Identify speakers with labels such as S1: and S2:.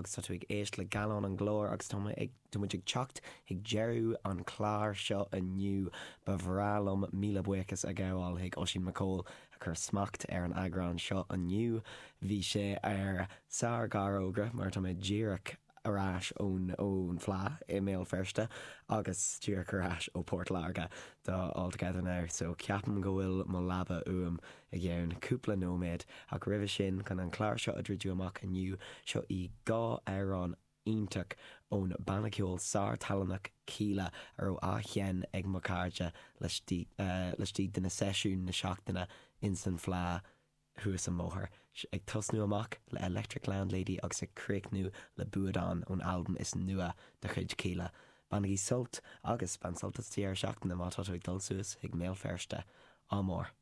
S1: agus tá tú ag éisteacht le Gallán an Ghlóir agus tá mé ag, tá muid ag teacht chuig deireadh an chláir seo inniu. Ba bhreá liom míle buíochas a ghabháil chuig Oisín McCole a chuir smacht ar an eagrán seo inniu. Bhí sé ar sár-ghearrfhógra mar tá mé díreach ar ais ón ón Fleadh i mBéal Feirste agus díreach ar ais ó Port Láirge do All Together Now so ceapaim go bhfuil mo leaba uaim i gceann cúpla nóiméad ach roimhe sin chun an clár seo a dhruidiú amach inniu seo í 2 amhrán iontach ón banna ceoil sár-talannach Kíla a raibh á sheinn ag mo chairde laistigh laistigh de na seisiúin na seachtaine ins an Fleadh thuas an bóthar, ag tosnú amach le Electric Landlady agus ag críochnú le Buadán ón albam is nua de chuid Kíla. Bainigí sult agus bain sult as deireadh seachtaine má tá tú ag dul suas chuig mBéal Feirste. Ádh mór.